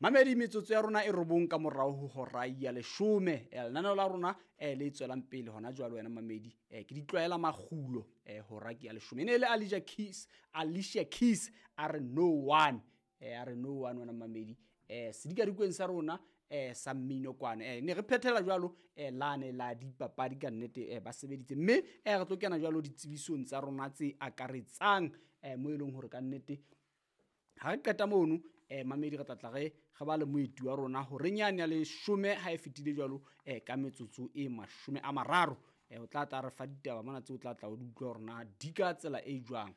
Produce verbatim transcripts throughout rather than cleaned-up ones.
Mamedi, metsotso ya rona e robong ka morao ho hora ya leshome. Eh, lenaneo la rona eh, le tswelang pele hona jwale wena mamedi, eh, ke ditlwaela makgulo, eh, hora ke ya leshome. E ne e le Alicia Keys, Alicia Keys a re no one, eh, a re no one wena mamedi. Eh, sedikadikweng sa rona eh, sa mmino kwana, eh, ne re phethela jwalo eh, lane la dipapadi ka nnete, eh, ba sebeditse. Mme eh, re tlo kena jwalo ditsebisong tsa rona tse akaretsang, eh, mo e leng hore ka nnete ha re qeta mono, eh, mamedi re tla tla re re ba le moeti wa rona horeng yane ya leshome ha e fetile jwalo, eh, ka metsotso e mashome a mararo. Eh, o tla tla re fa ditaba mona tseo o tla tla o di utlwa hore na di ka tsela e jwang.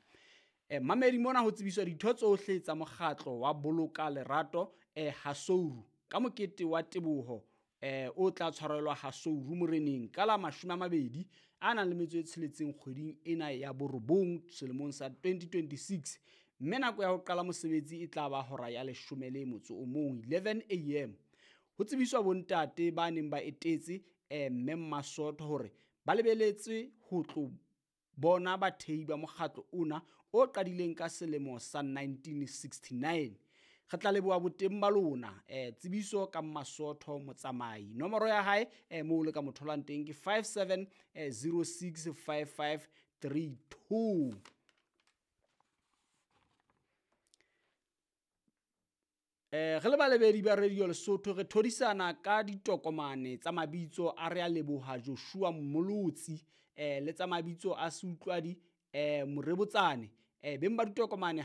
Eh, mamedi mona ho tsebiswa ditho tsohle tsa mokgatlo wa Boloka Lerato, eh, Hasouru ka mokete wa teboho, eh, o tla tshwarelwa Hasouru moreneng ka la mashome a mabedi a nang le metso e tsheletseng kgweding ena ya borobong selemong sa twenty twenty-six. Mme nako ya ho qala mosebetsi e tla ba hora ya leshome le motso o mong, eleven A M. Ho tsebiswa bontate ba neng ba etetse, eh, mme Mmasotho hore ba lebeletswe ho tlo bona bathehi ba mokgatlo ona o qadileng ka selemo sa nineteen sixty-nine. Re tla leboha boteng ba lona. Eh, tsebiso ka Mmasotho Motsamai. Nomoro ya hae, eh, moo le ka mo tholang teng ke five seven, eh, zero six five five three two. Eh, re le balebedi ba Radio Lesotho re thodisana ka ditokomane tsa mabitso a re a leboha Joshua Mmolotsi, eh, le tsa mabitso a Seutlwadi, eh, Morebotsane. Eh, beng ba ditokomane